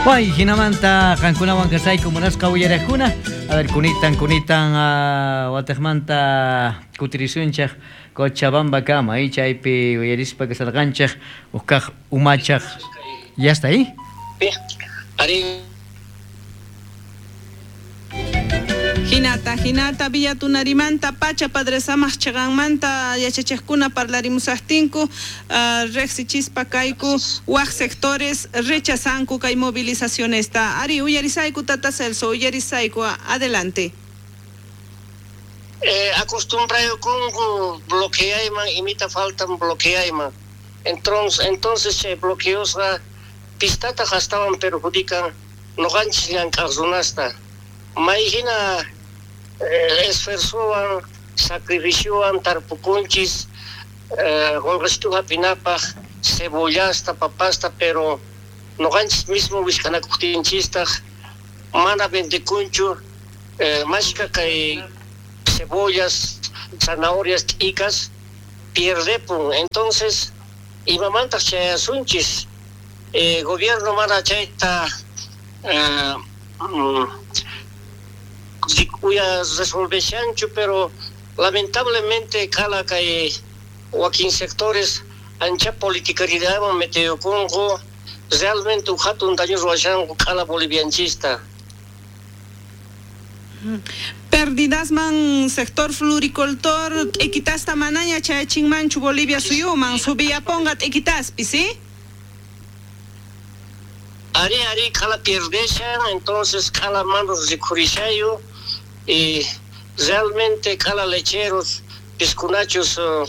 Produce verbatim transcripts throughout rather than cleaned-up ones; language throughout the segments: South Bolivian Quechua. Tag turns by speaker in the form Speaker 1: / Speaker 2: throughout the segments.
Speaker 1: Pay hinamanta qankunawan kasayku munasqa uyaraqkuna. A ver, kunitan kunitan uh, wataqmanta kutirisunchaq Cochabamba kama y chaypi uyarispa kasarqanchaq uqkaq umachaq. Ya está ahí.
Speaker 2: Ari.
Speaker 3: Hinata, hinata, Villatunarimanta, pacha, padre samaq chiqanmanta, yachachiqkuna parlarimusaqtinku, uh, riqsichispa kayku, waq sectores rechazanku kay movilizacionesta. Ari, uyarisayku, Tata Celso, uyarisayku, adelante.
Speaker 2: Eh, acostumbraykunku bloqueayman, imita faltan bloqueayman. Entonces, entonces chay bloqueosqa pistata astawan perjudican noqanchis llank'aq runasta. May hina eh, esfuerzowan, sacrificiowan tarpukunchis, eh, qolqesitu hap'inapaq, cebollasta, papasta, pero noqanchis mismo wisq'anakuqtinchistaq mana vendekunchu, eh, mashka kay cebollas, zanahorias, t'ikas pierdepun. Entonces, imamantaq chayasunchis, eh, gobierno mana chayta eh, mm, uya resolveshanchu, pero lamentablemente kala kay wakin sectores ancha politicaridadman metiyukunku, realmente hatun daño ruwashanku kala bolivianchista.
Speaker 3: Pérdidas man sector floricultor equitasta manaña chayachinmanchu Bolivia suyuman subiyaponqa equitaspi, ¿sí?
Speaker 2: Ari ari kala pierdeshan, entonces kala manos rikhurishayu y realmente kala lecheros piscunachos o,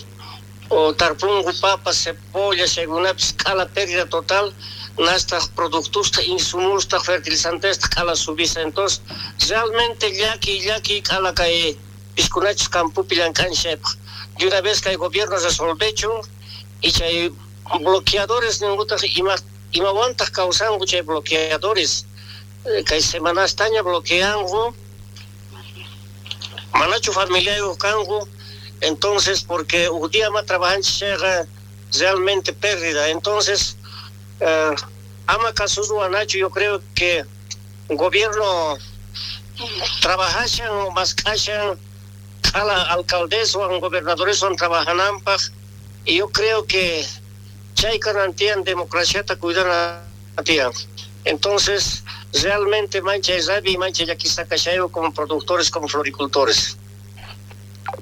Speaker 2: o tarpungu papas, cebollas, chaykunapis kala pérdida total nastaq productosta, insumusta, fertilizantesta kala subisa. Entonces realmente llaki llaki kala kay piscunachos campopi llank'anchaypaq. De una vez kay gobierno resolvechun y chay bloqueadores ninkutaq ima imawantaq kawsanku chay bloqueadores kay semanastaña bloqueanku manachu familiayuq kanku. Entonces porque un día más trabajanchis chayqa realmente pérdida. Entonces eh, ama kasurwanachu, yo creo que gobierno trabajashan o mask'ashan kala alcaldeswan gobernadoreswan trabajananpaq, y yo creo que chay kanan democraciata cuidana tiyan. Entonces realmente mancha rabia y mancha llakisqa kashayu como productores, como floricultores.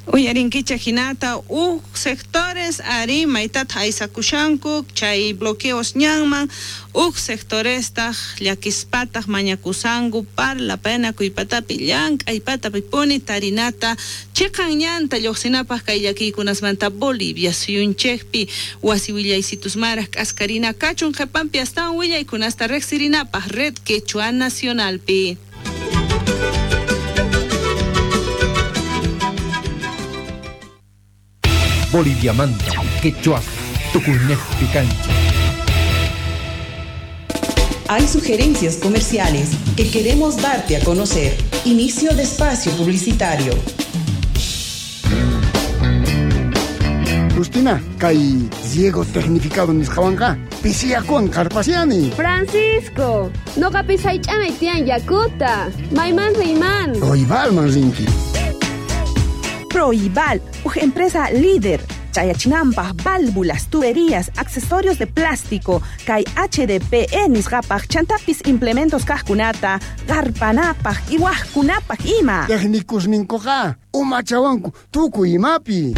Speaker 3: Uyarinkicha hinata uj sectores ari maytata aysakushanku chay bloqueos ñanman, uj sectorestaq llakispataq mañakusanku parlapanakuypatapi llank'aypatapi puni tarinata chiqan ñanta lluqsinapaq kay llakiykunasmanta Bolivia suyunchikpi wasi willaysitusmaraq k'askarina kachun qhipanpi astawan willaykunasta riqsirinapaq Red Quechua Nacionalpi.
Speaker 4: Bolivia Manta, Quechua, Tucunés, Picancha.
Speaker 5: Hay sugerencias comerciales que queremos darte a conocer. Inicio de espacio publicitario.
Speaker 6: Justina, kay riego tecnificado nisqawanqa pisiyakuwan qarpasiani.
Speaker 7: Francisco, noqapis haych'anay tiyan yakuta. Mayman riyman.
Speaker 6: Proibalman rinki.
Speaker 8: Proibal, una empresa líder. Chayachinampaj, válvulas, tuberías, accesorios de plástico, kay H D P E nisqapaj, chantapis implementos kajkunata, qarpanapaj, iwajkunapaj ima.
Speaker 6: Técnicos ninkuqa, umachawanku, tukuy imapi.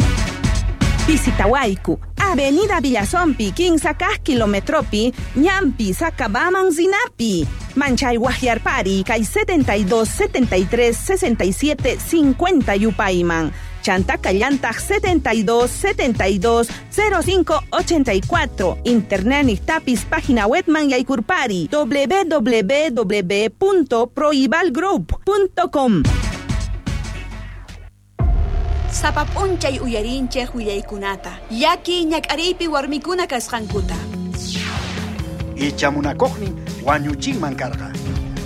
Speaker 8: Visitawayku, Avenida Villazompi, quince kilometropi, Ñampi, Sacabaman, Zinapi. Manchay Guajiarpari, kay setenta y dos, setenta y tres, sesenta y siete, cincuenta Yupayman. Chantaca Llantaj setenta y dos, setenta y dos, cero cinco, ochenta y cuatro. Internet Nictapis, página webman Yaycurpari, doble u doble u doble u punto proibalgroup punto com.
Speaker 9: Sapap'unchay uyarinchej willaykunata, llaki ñak'ariypi warmikuna kasqankuta.
Speaker 10: Ichamunakuqnin wañuchinman karqa.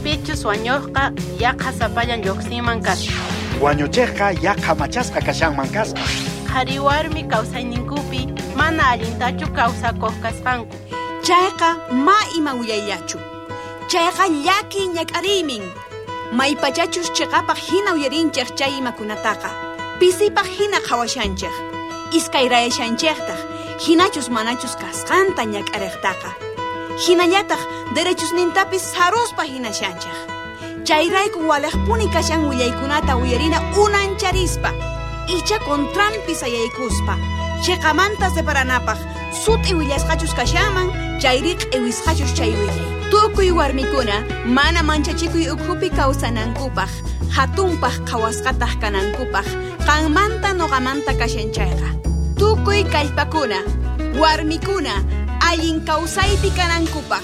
Speaker 11: Pichus wañuqqa yaqa sapallan lluqsinman kasqa.
Speaker 10: Wañuchiqqa yaqa machasqa kashanman kasqa.
Speaker 11: Qhari warmi kawsayninkupi mana allintachu kawsakuq kasqanku.
Speaker 9: Chayqa ma ima willayllachu. Chayqa llaki ñak'ariymin. Maypachachus chiqapaq hina uyarinchej chay imakunataqa. Pisipaq hina qhawashanchej. Iskayrayashanchejtaq hinachus manachus kasqanta ñak'ariqtaqa. Hinallataq derechusnintapis saruspa hinashanchej. Chayrayku waliqpuni kashan willaykunata uyarina unancharispa. Icha contranpi sayaykuspa. Chiqamanta separanapaq sut'i willasqachus kashanman chayri q'iwisqachus chay willay. Tukuy warmikuna mana manchachikuy ukhupi kawsanankupaq, hatunpaq qhawasqataq kanankupaq, qanmanta noqamanta kashan chayqa. Tukuy kallpakuna, warmikuna, allin kawsaypi kanankupaq.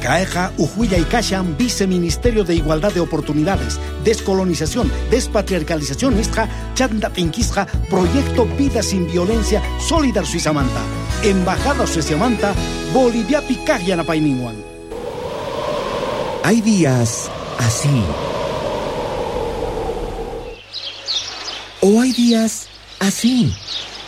Speaker 10: Kayqa uj willay kashan Viceministerio de Igualdad de Oportunidades, Descolonización, Despatriarcalización nisqa chanta t'inkisqa Proyecto Vida Sin Violencia Solidar Suizamanta, Embajada Sueziamanta, Boliviapi kaq yanapayninwan.
Speaker 12: Hay días así. O hay días así.